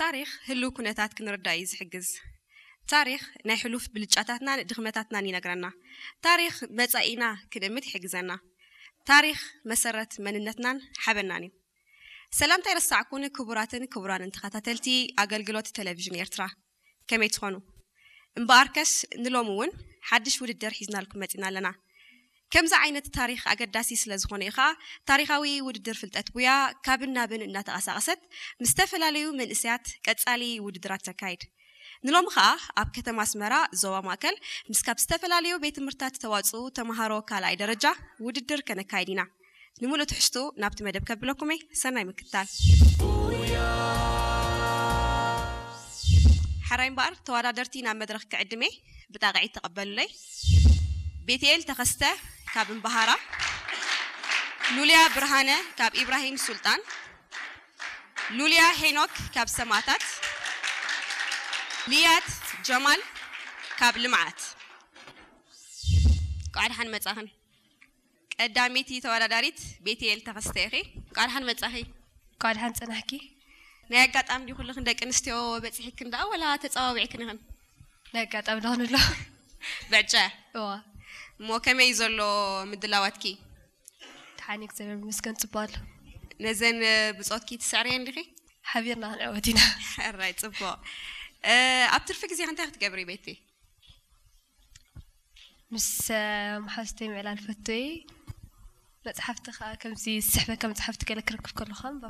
ታሪኽ ህሉው ኩነታት ክንርዳእ እዩ ዝሕግዝ። ታሪኽ ናይ ሕሉፍ ብልጫታትናን ድኽመታትናን ይነግረና። ታሪኽ መጻኢና ክንእምት ይሕግዘና። ታሪኽ መሰረት መንነትናን ሓበናን እዩ። ሰላምታ ይረሳዕኩን ክቡራትን ክቡራንን ተኸታተልቲ ኣገልግሎት ቴሌቪዥን ኤርትራ፣ ከመይ ትኾኑ? እምበኣርከስ ንሎሚ እውን ሓድሽ ውድድር ሒዝናልኩም መጺና ኣለና። ከምዚ ዓይነት ታሪኽ ኣገዳሲ ስለ ዝኾነ እዩ ኸኣ ታሪኻዊ ውድድር ፍልጠት ቡያ ካብን ናብን እናተቐሳቐሰት ምስ ዝተፈላለዩ መንእሰያት ቀጻሊ ውድድራት ተካይድ። ንሎሚ ኸኣ ኣብ ከተማ ኣስመራ ዞባ ማእከል ምስ ካብ ዝተፈላለዩ ቤት ትምህርታት ዝተዋጽኡ ተምሃሮ ካልኣይ ደረጃ ውድድር ከነካይድ ኢና። ንምሉእ ትሕዝቱ ናብቲ መደብ ከብለኩም እየ። ሰናይ ምክትታል። ሓራይ እምበኣር ተወዳደርቲ ናብ መድረኽ ክዕድም እየ። ብጣቕዒት ተቐበሉለይ። ቤትኤል ተኸስተ ካብ እምበሃራ፣ ሉልያ ብርሃነ ካብ ኢብራሂም ሱልጣን፣ ሉልያ ሄኖክ ካብ ሰማእታት፣ ልያት ጀማል ካብ ልምዓት። እንኳዕ ደሓን መጻኽን። ቀዳመይቲ ተወዳዳሪት ቤትኤል ተኸስተ ኢኺ። እንኳዕ ደሓን መጻኺ። እንኳዕ ደሓን ጸናሕኪ። ናይ ኣጋጣሚ ድዩ ኩልኽን ደቂ ኣንስትዮ በጺሕክን ደኣ ወላ ተጸዋዊዕክን ኢኽን? ናይ ኣጋጣሚ ደኣ ንብሎ። ብዕጨ? እዋ። እሞ ከመይ እዩ ዘሎ ምድላዋትኪ? ደሓን እዩ፣ እግዚኣብሔር ይመስገን፣ ጽቡቕ ኣሎ። ነዘን ብጾትኪ ትስዕርየን ዲኺ? ሓቢርና ክንዕወት ኢና። ሕራይ፣ ጽቡቕ። እ፣ ኣብ ትርፊ ግዜኺ እንታይ ክትገብሪ ቤቲ? ምስ፣ እ፣ መሓዙተይ ምዕላል ፈቱ እየ። መጽሓፍቲ ከኣ ከምዚ ዝስሕበካ መጽሓፍቲ ገለ ክረክብ ከለኹ ከንብብ